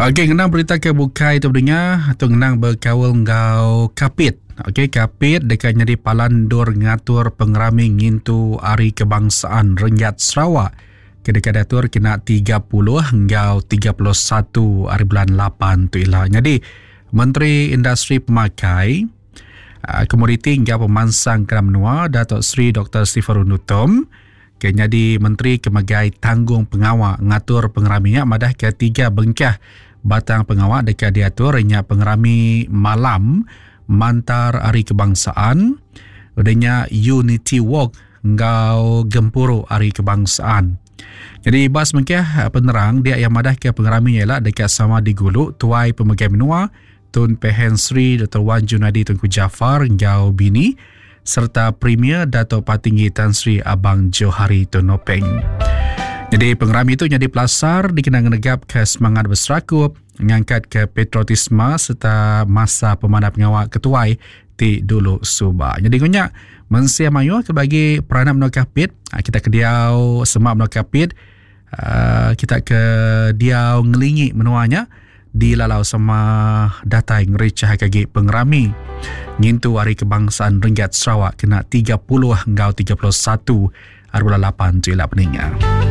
Okey, ngenang berita ke bukai tu pendengar, tu ngenang bekaul enggau Kapit. Okey, Kapit deka nyadi palan endur ngatur pengerami ngintu Hari Kebangsaan Renggat Sarawak ke deka diatur kena 30 enggau 31 hari bulan 8 tu ila. Nyadi, Menteri Industri Pemakai, ah, Komoditi enggau Pemansang Kandang Menua Datuk Seri Dr. Stephen Rundi Utom ke nyadi menteri ke megai tanggung pengawa ngatur pengerami nya madahka tiga bengkah batang pengawa deka diatur nya pengerami malam mantar Hari Kebangsaan, udah nya Unity Walk enggau Gempuru Hari Kebangsaan. Jadi ba semengkah penerang dia iya madahka pengerami nya ila deka sama digulu Tuai Pemegai Menua Tun Pehin Sri Doktor Wan Junaidi Tunku Jaafar enggau bini sereta Premier Datuk Patinggi Tan Sri Abang Johari Tun Openg. Jadi pengerami itu nyadi pelasar dikena ngenegapka semangat beserakup, ngangkatka patriotisme sereta masa pemanah pengawa ketuai ti dulu suba. Jadi ngunya mensia mayuh ke bagi peranak menua Kapit, ah, kita ke diau semak menua Kapit, ah, kita ke diau ngelingi menua nya, Dilalau sama datai ngerichah agi pengerami ngintu Hari Kebangsaan Renggat Sarawak kena 30 enggau 31 hari bulan 8 tu ila peninga.